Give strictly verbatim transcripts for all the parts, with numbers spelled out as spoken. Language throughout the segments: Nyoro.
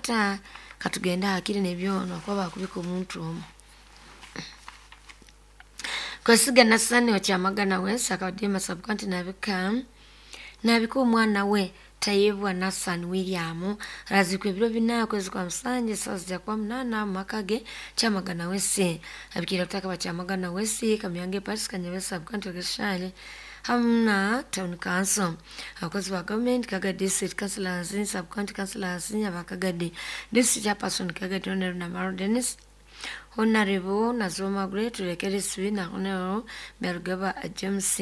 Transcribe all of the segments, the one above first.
Ata katugenda hakiri nebyono kuba bakubika omuntu omu. Kwesiga Nasani wa Kyamagana West akabadima sub-county nabika nabika omwana we Tayebwa Nasani William arazikwa ebiro bina kwezi kwa musanje saa zijja kuba munaana mu maka ge Kyamagana West. Abikira kutaka ba Kyamagana West Kamyange Paris Kanyebe sub-county Gashali hamu na town council, abakozi ba gavumenti, Kagadi district councillors, sub-county councillors, abakagadi district chairperson Kagadi Honorable Namaro Dennis, Honorable Nazoma Great Tulekerisibi na Honorable Byarugaba James,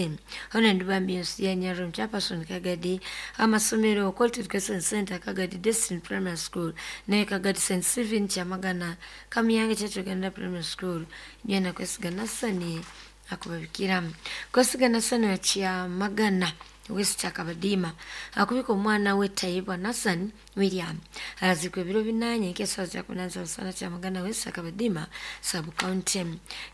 Honorable Bambi ya Nyarum chairperson Kagadi, amasomero Quality Education Center Kagadi Destiny Primary School ne Kagadi Saint Stephen Kyamagana Kamyange Church Uganda Primary School nyena Kwesiga Nasani akubabikira. Kwesiga Nasani wa Kyamagana West Akabadima akubika omwana we Tayebwa Nasani William arazikwa ebiro binanye nk'esawa za kunanza musana Kyamagana West Akabadima sub county.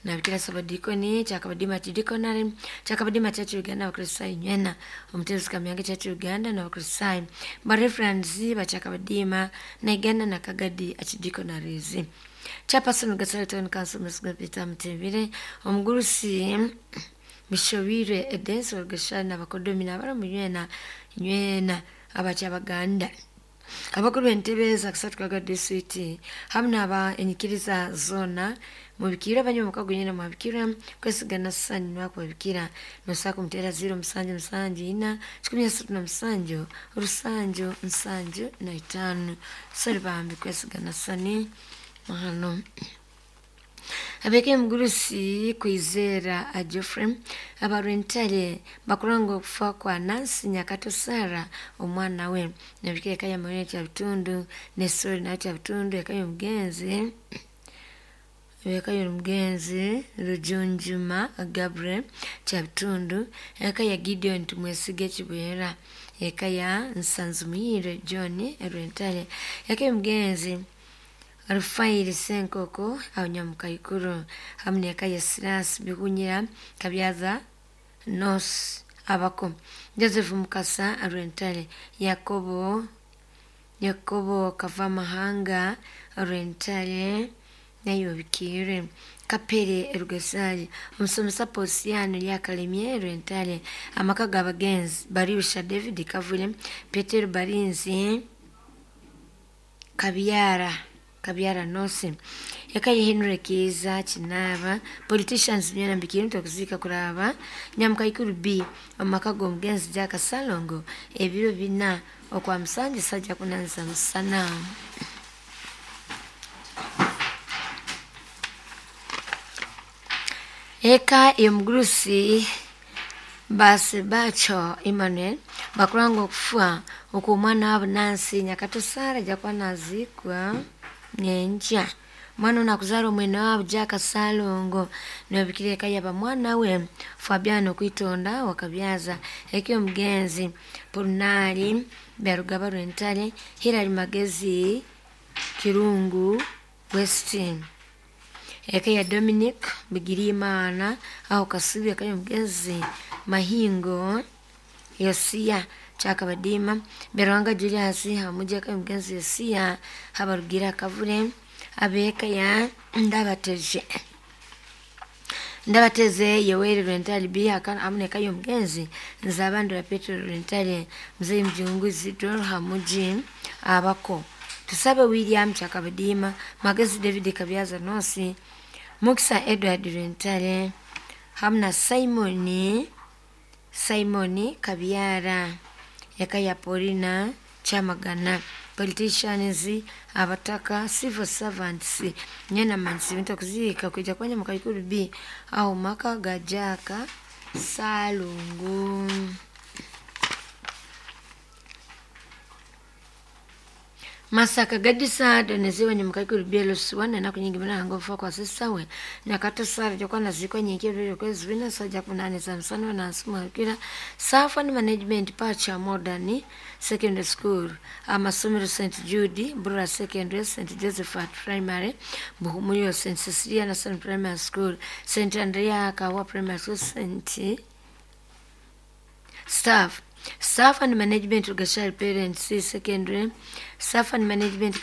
Nabikira sabadikoni Kyakabadima Diaconary Kyakabadima Church Uganda Abakristaayo nywena omutezi Kamyange Church Uganda n'Abakristaayo ba referends ba Kyakabadima na Uganda na Kagadi Archdeaconaries. Chairperson Gasale Town Council Mr. Peter Mutebire, omugurusi Mishobire Edensi Olugashani n'abakodomi n'abalamu nywena nywena abakyabaganda abakuru b'entebe za kusatu Kaga district hamu n'aba enyikiriza zona mubikira abanyamukago nyina mwabikira Kwesiga Nasani nwakubabikira nosaka kumutera ziro musanju musanju ina kikumi asatu na musanju rusanju nsanju na itaano. Sori bambi Kwesiga Nasani mahano. Abeke mugurusi Kwizera a Geoffrey abarwentale bakuranga okufa kwa Nancy Nyakato Sara omwana we nabikira eka ya Maria Kyabitundu ne Sori nayo Kyabitundu eka y'omugenzi eka y'omugenzi Rujunjuma Gabriel Kyabitundu eka ya Gideon Tumwesige Kibwera eka ya Nsanzumuhire John Rwentale eka y'omugenzi Rufairi Senkoko abanyamukaikuru hamu n'eka ya Silas Bihunyira Kabyaza Nos abako Joseph Mukasa Rwentale Yakobo Yakobo Kavamahanga Rwentale nayo bikire Kapere Erugasali omusomesa Posiano Lyakalemye Rwentale amaka g'abagenzi Baribisha David Kavule Petero Barinzi Kabyara Kabyara Nosi eka ye Henry Kiza Kinaba politicians myana mbikiri ntokuzika kuraba Nyamukaikuru B amaka g'omugenzi Jack Salongo ebiro bina okwa musanju sajja kunanza musana. Eka y'omugurusi Basebacho Emmanuel bakuranga okufa okw'omwana wabo Nancy Nyakato Sara jakuba nazikwa nyenkya. Mwana ono akuzaala omwene waabo Jack Salongo nobikira eka yaba mwana we Fabiano Kwitonda wakabyaza eka y'omugenzi Purunali Byarugaba Rwentale Hilary Magezi Kirungu West eka ya Dominic Bigirimana aho Kasubi eka y'omugenzi Mahingo Yosia Kyakabadima Byaruhanga Julius hamuji eka y'omugenzi Yosia Habarugira Kavule abeka ya Ndabateje Ndabateze Yoweri Rwentale B hamu n'eka y'omugenzi Nzabandura Petero Rwentale Mzee Mjungu Isidro Hamuji abako Tusabe William Kyakabadima Magezi David Kabyaza Nosi Mukisa Edward Rwentale hamu na Simoni Simoni Kabyara eka ya Paulina Kyamagana politicians abataka civil servants nyena mansi ntokuzika kuja kwa Nyamukaikuru B au maka ga Jack Salongo. Masaka Gadisa donezewe Nyamukaikuru B lusiwana na kunyingi mlango fa kwa sisawe Nyakato Sara jokwa nazikwa nyingi byo kwezi bina saja kunane za msano na nsuma kila Safa ni management pacha modern secondary school amasomero Saint Jude Bura Secondary Saint Joseph Primary Buhumuyo Saint Cecilia National Primary School Saint Andrea Kawa Primary School Saint Staff Staff and Management Rugashari Parents Secondary Staff and Management